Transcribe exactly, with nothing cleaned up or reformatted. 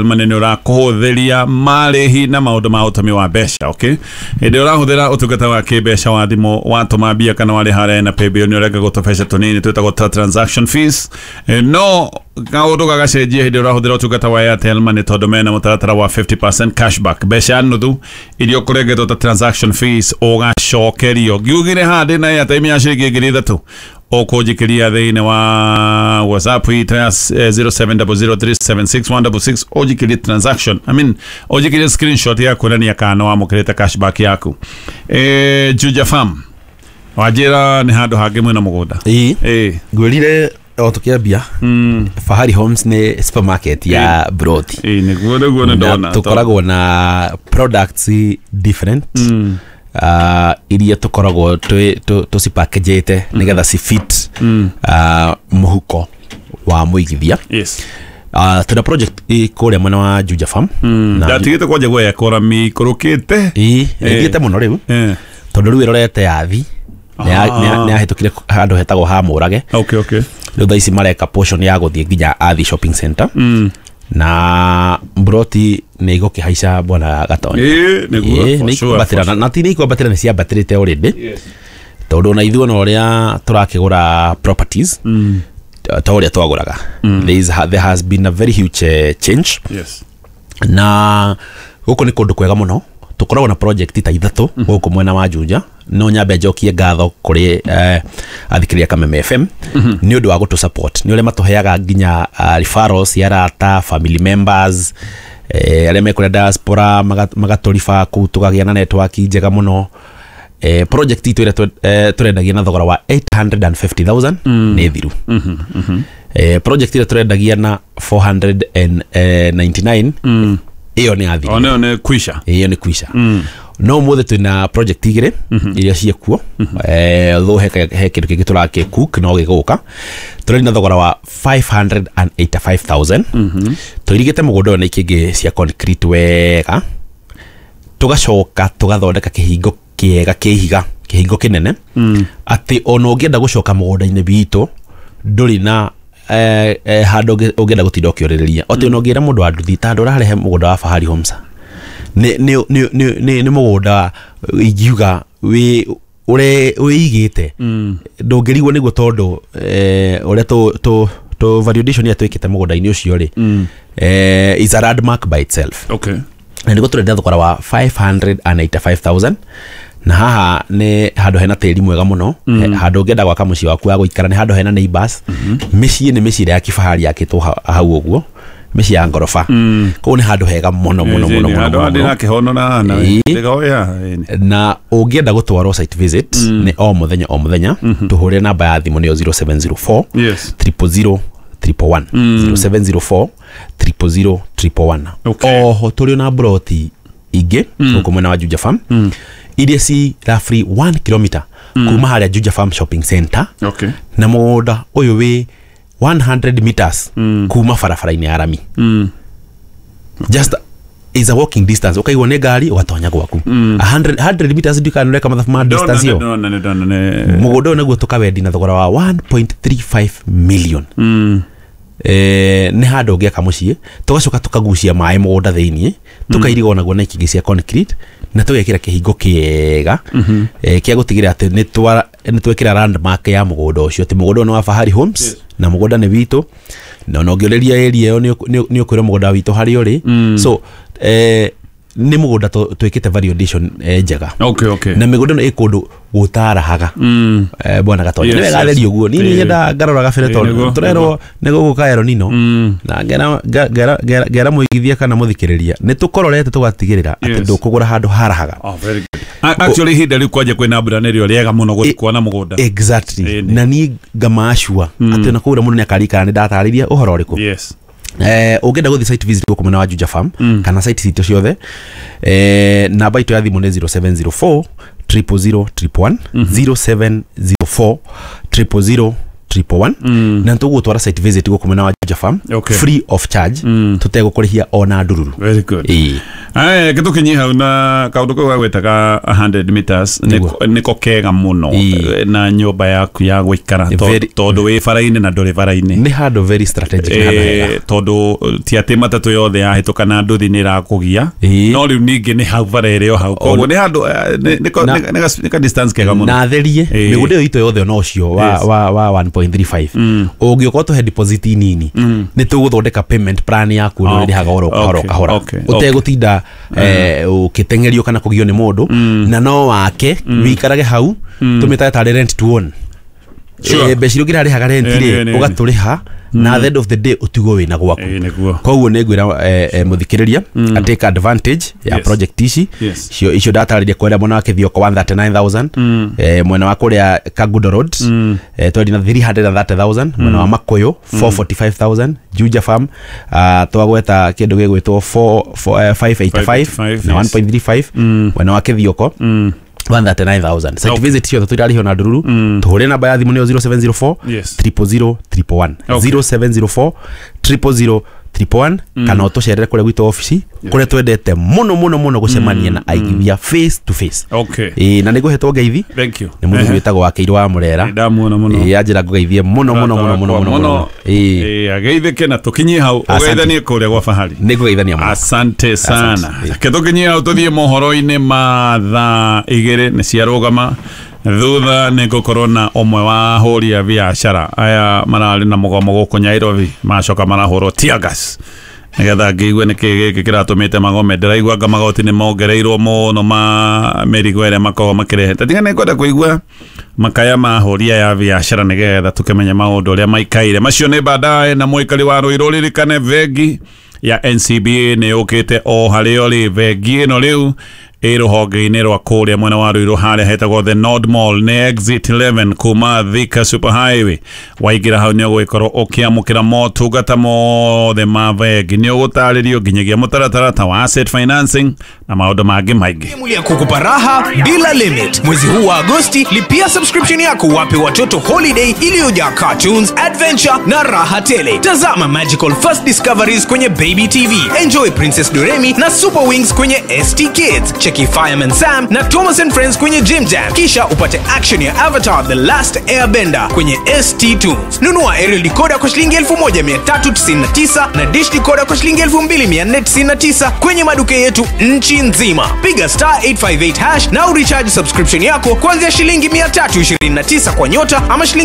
Money nĩ ũrakũhũthĩria marĩhi na maũndũ ma ũtũmi wa mbeca. Okay, hĩndĩ ĩrĩa ũrahũthĩra ũtungata wa kĩmbeca wa thimũ, watũma mbia kana warĩha harĩa na paybill, nĩ ũrengagwo tũbeca tũnini twĩtagwo ta transaction fees. Eh, no kaũndũ gagacenjia hĩndĩ ĩrĩa ũrahũthĩra ũtungata wa Airtel Money, tondũ mena mũtaratara wa fifty percent cashback. Mbeca nuthu iria ũkũrengetwo ta transaction fees ũgacokerio. Ngiugire haha ndĩna airtime ya ciringi ngiri ithatũ, ũkũnjikĩria thĩinĩ wa WhatsApp itũ ya zero seven zero zero three seven six one six six, ũnjikĩrie transaction, I mean, ũnjikĩrie screenshot ya kuonania kana nĩ wamũkĩrĩte cashback yaku. eh, Juja Farm wanjĩra nĩ handũ hangĩ mwĩna mũgũnda. Ĩĩ. Ĩĩ. Ngwĩrire o tũkĩambia, Fahari Homes nĩ supermarket ya broti. Ĩĩ, nĩguo nĩguo nĩ Na ndona. tũkoragwo na products different uh, iria tũkoragwo tũcipackagĩte nĩgetha ci fit uh, mũhuko wa mũigithia. yes uh, tũna project ĩ kũrĩa mwena wa Juja Farm na Ndatigĩte kwanja guoya kora mikũrũkĩte. Ĩĩ, ĩthiĩte mũno rĩu, Eh, tondũ rĩu ĩrorete yathi Ah. nĩ yahĩtũkire handũ hetagwo ha Mũrage. okay okay Rĩu thaa ici mareka portion ya gũthiĩ nginya Athi Shopping Center mm. na mbroti nĩ igũkĩhaica, bwana Gatonya. Ĩĩ, nĩguo, Ĩĩ, for nĩ sure, ikwambatĩra. For na na ti nĩ ikwambatĩra, nĩ ciambatĩrĩte already, Yes. tondũ ona ithuĩ ona ũrĩa tũrakĩgũra properties Mm. ta ũrĩa twagũraga, there is, there has been a very huge uh, change. Yes. Na gũkũ nĩ kũndũ kwega mũno. Tũkoragwo na project ta ithatũ gũkũ mwena wa Juja. No nyambe njokie ngatho kũrĩ eh, athikĩrĩria Kameme F M nĩ ũndũ wa gũtũ support, nĩ ũrĩa matũheaga nginya uh, referrals cia arata, family members, eh, arĩa mekũrĩa diaspora, maga- magatũriba kũu, tũkagĩa na network njega mũno. eh, project itũ ĩrĩa twe- eh, tũrendagia na thogora wa eight hundred fifty thousand nĩ thiru. eh, project ĩrĩa tũrendagia na four hundred ninety-nine, ĩyo nĩ yathirire. O nĩyo nĩ kwisha. Ĩyo nĩ kwisha. No ũmũthĩ twĩna project igĩrĩ iria ciĩkuo, eh, although he he kĩndũ kĩngĩ tũrakĩ cook no gĩgũka. Tũrĩ na thogora wa five hundred eighty-five thousand. Tũirigĩte mũgũnda ũyũ na ikĩngĩ cia concrete wega, tũgacoka tũgathondeka kĩhingo kĩega kĩhiga, kĩhingo kĩnene atĩ ona ũngĩenda gũcoka mũgũnda-inĩ witũ ndũrĩ na eh, eh, handũ ũngĩ- ũngĩenda gũtinda ũkĩũrĩrĩria, atĩ ona ũngĩra mũndũ wa nduthi ta handũ ũrarehe mũgũnda wa Fahari Homes nĩ nĩ nĩ nĩ nĩ nĩ mũgũnda ingiuga wĩ ũre wĩigĩte, ndũngĩrigwo nĩguo, tondũ eh, ũrĩa tũ tũ tũ valuation ĩrĩa twĩkĩte mũgũnda-inĩ ũcio rĩ, eh, is a landmark by itself. Okay Na nĩguo tũrendia thogora wa five hundred eighty-five thousand, na haha nĩ handũ hena tĩri mwega mũno, mm. handũ ũngĩenda gwaka mũciĩ waku wa gũikara, nĩ handũ hena neighbors. Mĩciĩ nĩ mĩciĩ ĩrĩa ya kifahari yakĩtwo ha- hau ũguo, mĩciĩ ya ngoroba. Koguo nĩ handũ hega mũno mũno mũno mũno Handũ mũno, handĩ mũno. na kĩhono na hana. Ĩĩ. Ndĩgoya. Na ũngĩenda gũtwarwo site visit, nĩ o mũthenya o mũthenya, tũhũrĩre namba ya thimũ, nĩyo zero seven zero four yes triple zero triple one, zero seven zero four triple zero triple one. Okay. Oho tũrĩ na broti ingĩ gũkũ mwena wa Juja Farm iria ci roughly one kilometer kuma harĩa Juja Farm Shopping Center, okay na mũgũnda ũyũ wĩ one hundred meters kuma barabara-inĩ ya rami, just is a walking distance. Ũkaigwo nĩ ngari ũgatonya gwaku one hundred one hundred meters, ndikana ũreka mathabu ma distance ĩyo. Ndona nĩ ndona nĩ Mũgũnda ũyũ naguo tũkawendi na thogora wa one point three five million. eh, nĩ handũ ũngĩaka mũciĩ, tũgacoka tũkagucia maĩ mũgũnda thĩiniĩ, tũkairiga onaguo na ikĩngĩ cia concrete, na tũgekĩra kĩhingo kĩega eh, kĩa gũtigĩrĩra atĩ nĩ twa- nĩ twekĩra landmark ya mũgũnda ũcio, atĩ mũgũnda ũyũ nĩ wa Fahari Homes. Yes. Na mũgũnda nĩ witũ, na ona ũngĩũrĩria area ĩyo nĩ ũkũ- nĩ nĩ ũkwĩrwo mũgũnda witũ harĩa ũrĩ. So eh, nĩ mũgũnda tũ- twĩkĩte valuation eh, njega. okay okay Na mĩgũnda ĩno ĩ kũndũ gũtarahaga, Mm. eh, bwana Gatonya. Yes, Nĩ wega yes. therie ũguo niĩ Ĩĩ. nĩ nyendaga ngarora gabere, Ĩĩ, tondũ nĩguo, tũrerwo nĩ gũgũka El Nino, Mm. na ngera nga- ngera ngera- ngera mũigithia kana mũthikĩrĩria nĩ tũkororete tũgatigĩrĩra atĩ Yes. ndũkũgũra handũ harahaga. Oh, very good. A- Actually ihinda rĩu kwanja kwĩna mbura nĩrĩo rĩega mũno gũthiĩ kuona mũgũnda. Exactly. Ĩĩ, nĩ. Na niĩ ngamacua atĩ ona kũgũra mũndũ nĩ akarikana nĩ ndatarĩria ũhoro ũrĩkũ. Yes. Eh, ũngĩenda gũthiĩ site visit gũkũ mwena wa Juja Farm kana site citũ ciothe, eh, namba itũ ya thimũ nĩ zero seven zero four triple zero triple one, zero seven zero four triple zero triple one na nĩtũgũgũtwara site visit gũkũ mwena wa Juja Farm Okay. free of charge, tũtegũkũrĩhia ona ndururu. Very good. Ĩĩ. Aya, gĩtũkinyie hau na kaũndũ kau gagwĩtaga hundred meters Nĩguo. nĩko nĩko kega mũno Ĩĩ. na nyũmba yaku ya gũikara to- Very- tondũ wĩ bara-inĩ na ndũrĩ bara-inĩ. Nĩ handũ very strategic, nĩ handũ hega. Eh, tondũ ti atĩ matatũ yothe yahĩtũka na nduthi nĩ ĩrakũgia, Ĩĩ. no rĩu ningĩ nĩ hau bara ĩrĩ o hau, koguo nĩ handũ eh, nĩ- nĩ ko- Na- nĩ- nĩ ga- nĩ ka distance kega mũno. Na therie Ĩĩ. mĩgũnda ĩyo itũ yothe ona ũcio wa, Yes. wa, wa one point three five ũngĩũka ũtũhe deposit nini, nĩ tũgũthondeka payment plan yaku ũrĩa Okay. ũrĩhaga oro kahora, Okay. kahora, Okay. ũtegũtinda eh, ũkĩteng'erio kana kũgio nĩ mũndũ, na no wake wĩikarage hau, tũmĩtage tarĩ rent to own. Sure. Eh, mbeca iria ũngĩrarĩhaga rent Ĩĩ, rĩ, ĩĩ, ĩĩ. ũgatũrĩha, na at the end of the day ũtigwo wĩna gwaku. Ĩĩ, nĩguo. Koguo nĩ ngwĩra eh, eh, mũthikĩrĩria mm. atake advantage ya Yes. project ici. Yes. Icio icio ndatarĩria kũrĩa mwena wa Kĩthioko one hundred thirty-nine thousand, eh, mwena wa kũrĩa Kangundo Road eh, twendi na three hundred thirty thousand, mwena wa Makuyu four hundred forty-five thousand, Juja Farm uh, twagweta kĩndũ gĩgwĩtwo five eighty-five na yes. one point three five, mwena wa Kĩthioko one hundred thirty-nine thousand. Site Okay. visit ciothe tũirarĩhio na ndururu. Tũhũre namba ya thimũ nĩyo zero seven zero four Yes. triple zero triple one, Okay. zero seven zero four triple zero triple one, kana ũtũcerere kũrĩa gwitũ obici, kũrĩa twendete mũno mũno mũno gũcemania na aigithia face to face. Okay. Ĩĩ, na nĩ ngũhetwo ngeithi Thank you. nĩ mũthuri wĩtagwo Wakĩirũ wa Mũrera. Ndamuona mũno. Ĩĩ, anjĩra ngũgeithie mũno mũno mũno mũno mũno mũno. Ĩĩ. Ĩĩ, ageithĩke na tũkinyie hau. Asante. Ũgeithanie kũrĩa gwa fahari. Nĩ ngũgeithania mũno. Asante sana. Asante. Reke tũkinyie hau, tũthiĩ mohoro-inĩ ma thaa igĩrĩ nĩ ciarũgama. Thutha nĩ ngũkorwo na ũmwe wa ahũri a biacara aya mararĩ na mũgomo gũkũ Nairobi, macoka marahũrwo tear gas, nĩgetha ngĩigue nĩkĩ gĩkĩ kĩratũmĩte magome. Ndĩraigua anga magoti nĩ mongereirwo mũno ma mĩrigo ĩrĩa makoragwo makĩrehete. Tiga nĩ ngwenda kũigua makaya ma ahũri aya a biacara, nĩgetha tũkĩmenye maũndũ ũrĩa maikaire. Macio nĩ baadaye. Na mũikari wa Rũirũ, ririkane bengi ya N C B A nĩ yũkĩte o harĩa ũrĩ. Bengi ĩno rĩu ĩ rũhonge-inĩ rwa kũrĩa mwena wa Ruiru, harĩa hetagwo The Nord Mall, nĩ exit eleven kuma Thika Super Highway. Waingĩra hau nĩ ũgũgĩkorwo ũkĩamũkĩra motungata mothe ma bengi, nĩ ũgũtarĩrio nginyagia mũtaratara ta wa asset financing na maũndũ mangĩ maingĩ. Ya kukupa raha bila limit. Mwezi huu wa Agosti, lipia subscription yako wape watoto holiday iliyojaa cartoons, adventure na raha tele. Tazama Magical First Discoveries kwenye Baby T V. Enjoy Princess Doremi na Super Wings kwenye S T Kids. Cheki Fireman Sam na Thomas and Friends kwenye Jim Jam. Kisha upate action ya Avatar The Last Airbender kwenye S T Tunes. Nunua aerial decoder kwa shilingi elfu moja mia tatu tisini na tisa na dish decoder kwa shilingi elfu mbili mia nne tisini na tisa kwenye maduka yetu nchi nzima. Piga star eight five eight hash na urecharge subscription yako kuanzia shilingi mia tatu ishirini na tisa kwa nyota ama shilingi